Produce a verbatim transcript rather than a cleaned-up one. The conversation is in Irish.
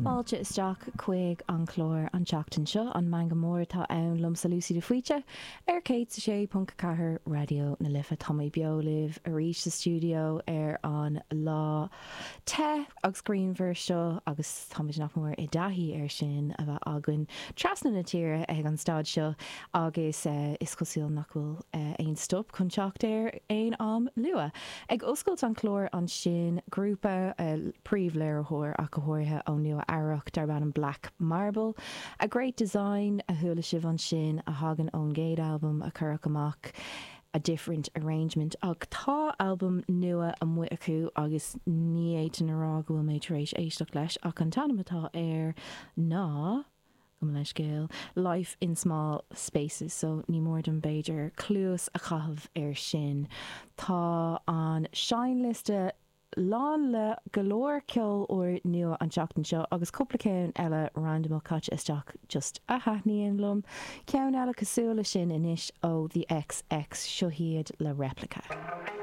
Fáilte isteach chuig an chlár an tseachtain seo an Meangadh Mór atá ann liomsa Lucy de Faoite ar céad a sé ponc ceathair Raidió na Life tá mé beo libh arís sa stiúideo ar an lá te agus grianmhar seo agus táimid nach mór i dtaithí ar sin a bheith againn trasna na tíre ag an staid seo agus uh, is cosúil nach bhfuil uh, aon stop chun teacht ar aon am luath. Ag oscailt an chlár ansin grúpa uh, príomhléiritheoir ach go háirithe ó Nua Eabhrac darb ainm Black Marble. A Great Design a chuala sibh ansin a thagann ón gcéad albam a cuireadh amach. A different arrangement ach tá albam nua amuigh acu agus ní fhéadfainn a rá go bhfuil mé tar éis éisteacht leis ach an t-ainm atá air ná go leiscéil Life in Small Spaces so ní mór dom b'fhéidir cluas a chaitheamh ar sin. Tá an seinnliosta lán le go leor ceol úr nua an tseachtain seo agus cúpla ceann eile random caite isteach just a thaitníonn liom. Ceann eile cosúil le sin anois ó the XX seo hiad le replica.